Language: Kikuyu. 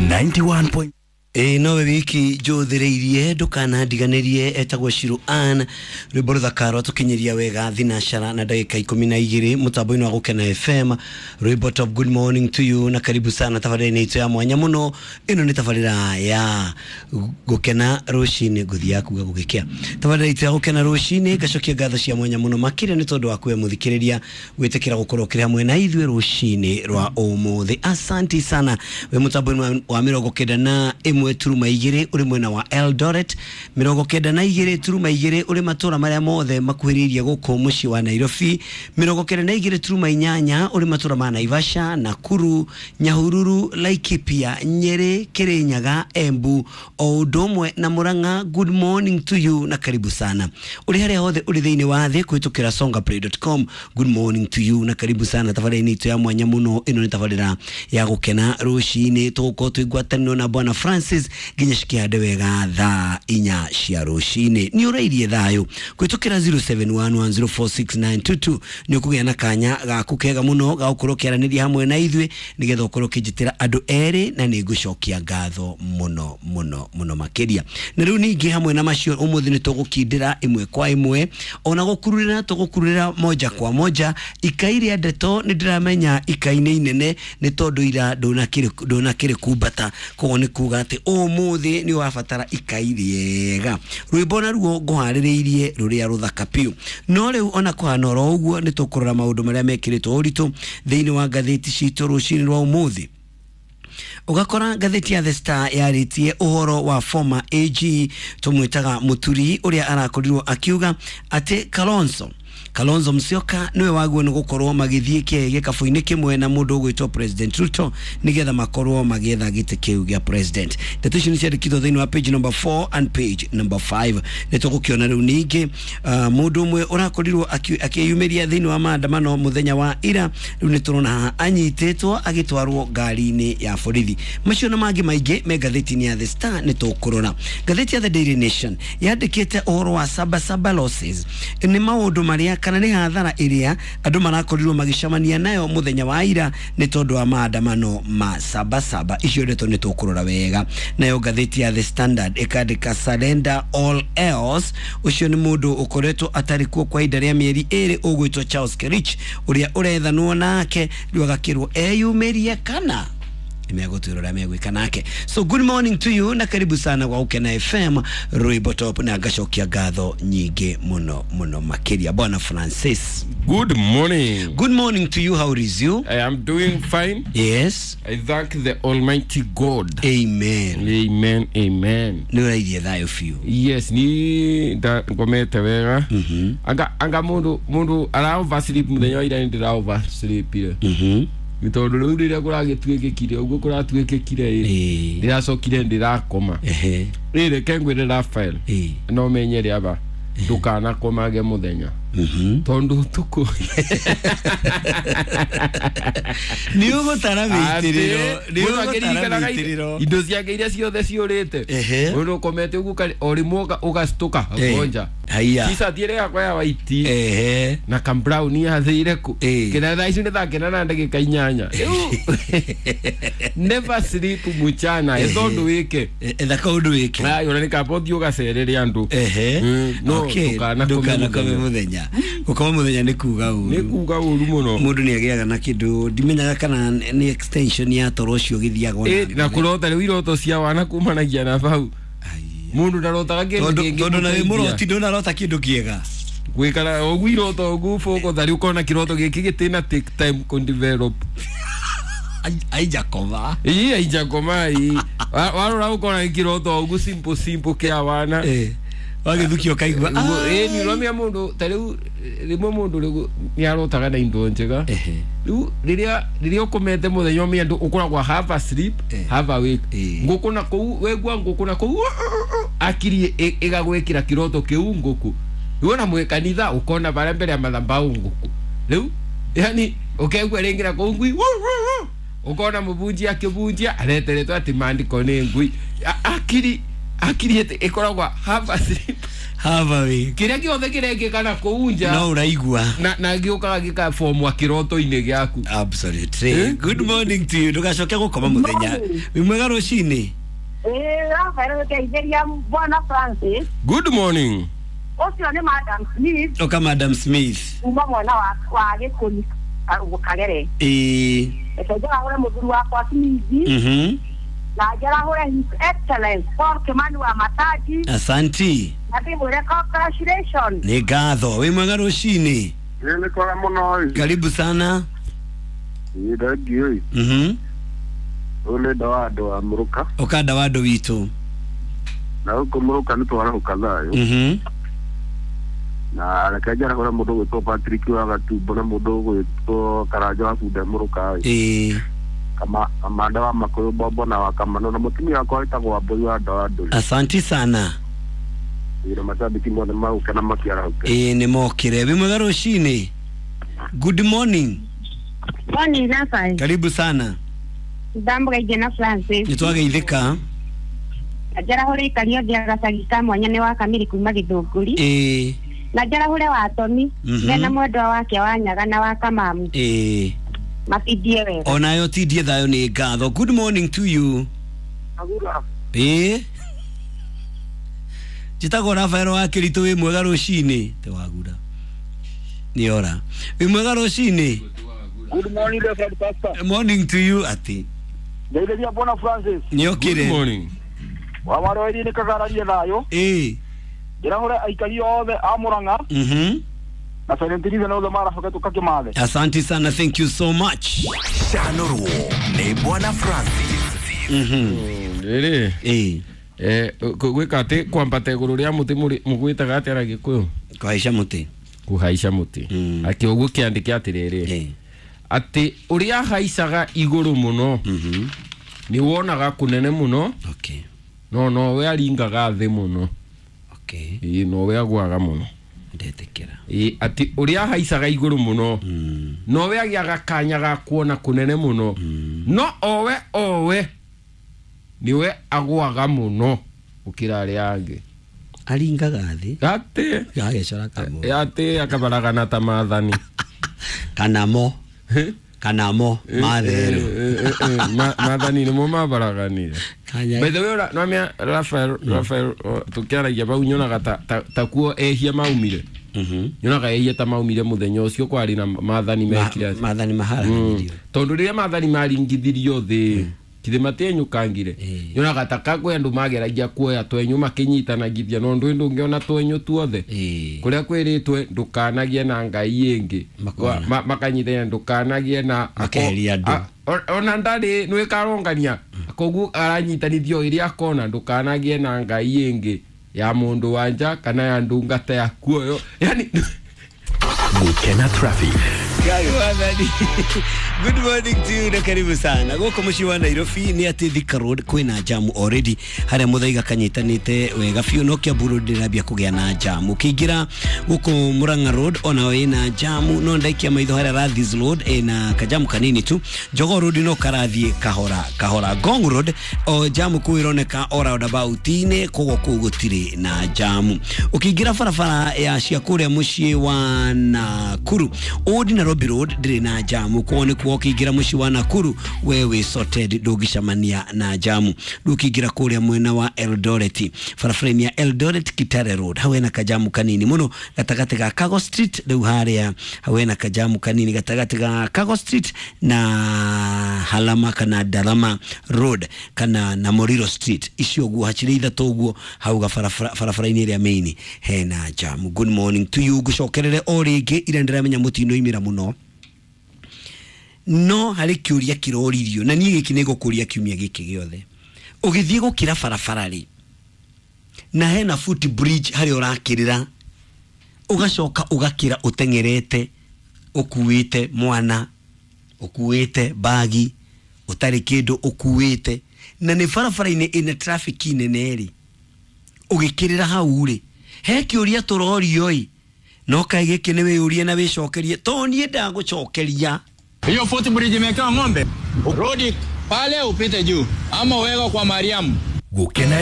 91. Ĩĩ nowe wiki njũthĩrĩirie ndũkanandiganĩrie etagwo Shiro Ann rwĩmbo rũthaka rwatũkinyĩria wega thinacara na ndagĩka 12 mũtambo-inĩ wa Gũkena FM. Rwĩmbo top, good morning to you na karibu sana tabarĩra-inĩ itũ ya mwanya mũno. Ĩno nĩ tabarĩra ya Gũkena rũcinĩ, ngũthiaga kuga gũgĩkĩa. Tabarĩra itũ ya Gũkena rũcinĩ, ngacokia ngatho cia mwanya mũno makĩria nĩ tondũ wa kuwe mũthikĩrĩria gwĩtĩkĩra gũkorwo ũkĩrĩ hamwe na ithuĩ rũcinĩ rwa ũmũthĩ. Asanti sana wĩ mũtambo-inĩ wa 91.2 ũrĩ mwena wa Eldoret, 92.2 ũrĩ matũra marĩa mothe makuhĩrĩirie gũkũ mũciĩ wa Nairobi, 92.8 ũrĩ matũra ma Naivasha, Nakuru, Nyahururu, Laikipia, Nyeri, Kirinyaga, Embu o ũndũ ũmwe na Murang'a. Good morning to you na karibu sana ũrĩ harĩa hothe ũrĩ thĩinĩ wa thĩ kũhĩtũkĩra songaplay.com. Good morning to you na karibu sana tabarĩra-inĩ itũ ya mwanya mũno. Ĩno nĩ tabarĩra ya Gũkena rũcinĩ, tũgũkorwo twĩ ngwatanĩro na Bwana Francis nginya cikĩhande wega thaa 4 cia rũcinĩ. Nĩ ũrairie thayũ kũhĩtũkĩra 0711046922 nĩ ũkũgĩa na kanya gaku kega mũno ga gũkorwo ũkĩaranĩria hamwe na ithuĩ nĩgetha ũkorwo ũkĩnjĩtĩra andũ erĩ, na nĩ ngũcokia ngatho mũno mũno mũno makĩria. Na rĩu ningĩ hamwe na macio ũmũthĩ nĩ tũgũkindĩra ĩmwe kwa ĩmwe, ona gũkururĩra tũgũkururĩra moja kwa moja ikai rĩa ndeto. Nĩ ndĩramenya ikai nĩ inene nĩ tondũ ira ndũnakĩrĩ kumbata, koguo nĩ kuga atĩ ũmũthĩ nĩ ũrabatara ikai rĩega. Rwĩmbo naruo ngũharĩrĩirie rũrĩa rũthaka piũ. No rĩu ona kũhana oro ũguo nĩ tũkũrora maũndũ marĩa mekĩrĩtwo ũritũ thĩinĩ wa ngathĩti citũ rũcinĩ rwa ũmũthĩ. Ũgakora ngathĩti ya The Star yarĩtie ũhoro wa former AG tũmwĩtaga Mũturi ũrĩa arakorirwo akiuga atĩ Kalonzo Musyoka niwe waguo nĩ gũkorwo magĩthiĩ gĩkabũ-inĩ kĩmwe na mũndũ ũgwĩtwo President Ruto nĩgetha makorwo magĩetha gĩtĩ kĩu gĩa president. Ndeto icio nĩ ciandĩkĩtwo thĩinĩ wa page number 4 and page number 5. Nĩ tũgũkĩona rĩu ningĩ mũndũ ũmwe ũrakorirwo akĩyumĩria thĩinĩ wa maandamano mũthenya wa ira, rĩu nĩ tũrona haha anyitĩtwo agĩtwarwo ngari-inĩ ya borithi. Macio na mangĩ maingĩ me ngathĩti-inĩ ya The Star nĩ tũkũrora. Ngathĩti ya The Daily Nation yandĩkĩte ũhoro wa Sabasaba losses, nĩ maũndũ marĩa kana nĩ hathara ĩrĩa andũ marakorirwo magĩcemania nayo mũthenya wa ira nĩ tondũ wa maandamano ma Sabasaba. Icio ndeto nĩ tũkũrora wega. Nayo ngathĩti ya The Standard ĩkandĩka surrender all else, ũcio nĩ mũndũ ũkoretwo atarĩ kuo kwa ihinda rĩa mĩeri 2 ũgwĩtwo Charles Kerich ũrĩa ũrethanwo nake, rĩu agakĩrwo eyumĩrie kana megũtwĩra ũrĩa megwĩka nake. So good morning to you na karibu sana kwa Gũkena FM rwĩmbo top, na ngacokia ngatho nyingĩ mũno mũno makĩria. Bwana Francis, Good morning. Good morning to you. How is you? I am doing fine. Yes. I thank the Almighty God. Amen. Amen. Amen. Nĩ ũrairie thayũ biũ. Yes, ni nda ngomete wega. Anga mundu ara oversleep muthenya wa ira, ndira oversleepire. Nĩ tondũ rĩu rĩrĩa kũragĩtuĩkĩkire ũguo kũratuĩkĩkire ĩ, ndĩracokire ndĩrakoma. Rĩ reke ngwĩre Raphael, no menye rĩaba ndũkanakomage mũthenya tondũ ũtukũ Nĩ ũgũtara mĩitĩrĩro, nĩ Mũndũ ũgũtara akĩririkanaga mĩitĩrĩro. indo ciake iria ciothe ciũrĩte. Mũndũ ũkomete ũguo o rĩmwe ũgacitũka ũkonja Haiya. T-shirt ĩrĩa yakwa ya waiti na ka brown yathĩire kũ kĩna thaa ici nĩ thaa kenda na ndagĩka 8. Rĩu never sleep mchana, etha ũndũ wĩke. Etha kaũndũ wĩke. Ayo, na nĩ kaba ũthiĩ ũgacerere andũ. No ndũkanakome Ndũkanakome mũthenya. mũthenya. Gũkoma mũthenya nĩ kuga ũru. Nĩ kuga ũru mũno. Mũndũ nĩ agĩaga na kĩndũ ndimenyaga kana nĩ extension ya toro ũcio ũgĩthiaga ona Na mbere. kũrota rĩu iroto cia wana kumanagia na bau. Mũndũ ndarotaga kĩndũ Tondũ kĩngĩ tondũ na wĩ mũteithia. mũroti ndũnarota kĩndũ kĩega. Gwĩkara ũguo iroto ũguo bũko tarĩ ũkona kĩroto gĩkĩ gĩtĩna take time kũ develop. Aijakoma. Ii aijakoma ii. Warora ũkona kĩroto ũguo simple simple kĩa wana. Wagĩthukio ũkaigua. Ĩĩ, nĩ ũramenya mũndũ ta rĩu rĩmwe mũndũ rĩu nĩ arotaga na indo njega. Rĩu rĩrĩa ũkomete mũthenya ũmenya ndũ ũkoragwo half asleep, half awake. Ngũkũ na kũu wegua ngũkũ na kũu akiri ĩgagwĩkĩra kĩroto kĩu ngũkũ. Rĩu ona mwĩ kanitha ũkona barĩa mbere ya mathabaũ ngũkũ. Rĩu yani ũkegua rĩngĩ na kũu ngui ũkona mũbunjia akĩbunjia areteretwo atĩ maandĩko nĩ ngui. Akiri ĩkoragwo half asleep. Have awake. Kĩrĩa gĩothe kĩrekĩka na kũu nja No ũraigua. Na gĩũkaga gĩkabomwa kĩroto-inĩ gĩaku. Absolutely. Eh? Good morning to you. Ndũgacoke gũkoma mũthenya. Wĩ mwega rũcinĩ. Ĩĩ, Rafael gũteithĩria Bwana Francis. Good morning. Ũcio nĩ Madam Smith Oka Madam Smith. kuma mwena wa Gĩkũni Kagere. Ĩĩ. Reke njarahũre mũthuri wakwa Smith na njarahũre His Excellence Paul Kimani wa Mataji Asanti. na ndĩmwĩre congratulations. Nĩ ngatho. Wĩ mwega rũcinĩ. Nĩ kwega mũno ĩ. Karibu sana. Ĩ thengiũ ĩ. Ũyũ nĩ ndawa andũ a Mũrũka. Ũka ndawa andũ witũ. Na gũkũ Mũrũka nĩ twarahũka thayũ. Na reke njarahũre mũndũ ũgwĩtwo Patrick wa Gatumbo na mũndũ ũgwĩtwo Karanja wa Bunda Mũrũka ĩ. Ĩĩ. Kamanda wa Makũyũ Bombo na wa Kamano na mũtumia wakwa wĩtagwo Wambũi wa Ndawa Ndũrĩ. Asanti sana. Ĩ na macambĩki mothe magũke na makĩarahũke. Ĩĩ nĩ mokire. Wĩ mwega rũcinĩ. Good morning. Morning, Rafael. Karibu sana. Ndamũgeithia na Francis. Nĩ twageithĩka. Na njarahũre ikari othe a gacagi ka mwanya nĩ wa Kamiri kuma Gĩthũngũri. Ĩĩ. Na njarahũre wa Tomi mena mwendwa wake wa Nyaga na wa Kamamu. Ĩĩ. Matindie wega. Onayo tindie thayũ nĩ ngatho. Good morning to you. Ĩĩ. Njĩtagwo Rafael wa Kĩritũ. Wĩ mwega rũcinĩ. Te wagura. Nĩ ora. Wĩ mwega rũcinĩ. Good morning, Reverend Pastor. Morning to you ati. Ngeithĩria Bwana Francis. Nĩ Good okire. morning. Wa maroeri nĩ kagararie thayũ. Ĩĩ. Ndĩrahũre aikari othe a Mũrang'a na Silent Reason othe maracoke tũkakĩmathe. Asante sana, thank you so much. Canũrwo nĩ Bwana Francis. Rĩrĩ Ĩĩ. Gwĩka atĩ kwambata igũrũ rĩa mũtĩ mũgwĩtaga atĩa na Gĩkũyũ? Kũhaica mũtĩ. Kũhaica mũtĩ. Atĩ ũguo kĩandĩke atĩrĩrĩ Ĩĩ. atĩ ũrĩa haicaga igũrũ mũno nĩ wonaga kũnene mũno. Okay. No nowe aringaga thĩ mũno. Okay. Ĩĩ nowe agwaga mũno. Ndetĩkĩra. Ĩĩ atĩ ũrĩa haicaga igũrũ mũno nowe agĩaga kanya ga kuona kũnene mũno no owe nĩwe agwaga mũno gũkĩra arĩa angĩ. Aringaga thĩ. Atĩ Gagecora kamũ. Atĩ akabaragana ta maathani. Kana mo. Kana mo matherũ. Maathani nĩmo mabaraganire. Kanya. By the way, nwamia Rafael tukiaragia bau nyonaga ta kuo ehia maumire. Nyonaga ehia ta maumire muthenya ucio kwari na maathani mekire atĩa. Maathani maharaganĩrio. Tondu riria maathani maringithirio thi kithĩ matienyũkangire. Nyonaga ta kakwĩ andũ mageragia kuoya twenyũ makĩnyitanagithia no ndũĩ ndũngĩona twenyũ tuothe. Kũrĩa kwĩrĩtwe ndũkanagie na ngai ĩngĩ. Makona. Makanyitania ndũkanagie na Makeheria andũ. Ona ndarĩ nĩwĩkarongania koguo aranyitanithio ĩrĩa akona ndũkanagie na ngai ĩngĩ ya mũndũ wa nja kana ya ndungata yaku ũyũ yani. Gũkena traffic. Good morning to you na karibu sana. Gũkũ mũciĩ wa Nairobi nĩ atĩ Thika Road kwĩna jamu already harĩa Mũthaiga kanyitanĩte wega biũ no Kiambu Road ndĩrambia kũgĩa na jamu. Ũkĩingĩra gũkũ Murang'a Road onayo ĩna jamu no ndaikia maitho harĩa Rathis Road ĩna kajamu kanini tu. Jogoo Road no karathiĩ kahora kahora. Ngong Road o jamu kũu ĩroneka o roundabout-inĩ koguo kũu gũtirĩ na jamu. Ũkĩingĩra barabara ya cia kũrĩa mũciĩ wa Nakuru Old Nairobi Road ndĩrĩ na jamu koguo nĩkuo ũkĩingĩra mũciĩ wa Nakuru we wĩ sorted ndũngĩcemania na jamu. Rĩu ũkĩingĩra kũrĩa mwena wa Eldoret barabara-inĩ ya Eldoret Kitale Road hau hena kajamu kanini mũno gatagatĩ ga Kago Street rĩu harĩa hau hena kajamu kanini gatagatĩ ga Kago Street na Halama kana Darama Road kana na Moriro Street icio ũguo hacirĩ ithatũ ũguo hau barabara-inĩ ĩrĩa main hena jamu. Good morning to you. Ngũcokerere o rĩngĩ ira ndĩramenya mũtinoimĩra mũno no harĩ kĩũria kĩroririo na niĩ gĩkĩ nĩngũkũria kiumia gĩkĩ gĩothe. Ũgĩthiĩ gũkĩra barabara rĩ na hena foot bridge harĩa ũrakĩrĩra ũgacoka ũgakĩra ũteng'erete ũkuĩte mwana ũkuĩte bagi ũtarĩ kĩndũ ũkuĩte na nĩ barabara-inĩ ĩna traffic nene rĩ ũgĩkĩrĩra hau rĩ he kĩũria tũrorio ĩ no kaĩ gĩkĩ nĩ wĩyũrie na wĩcokerie to niĩ ndagũcokeria. Hiyo footbridge imewekewa ng'ombe, rudi pale upite juu ama uweka kwa Mariamu. Gũkena.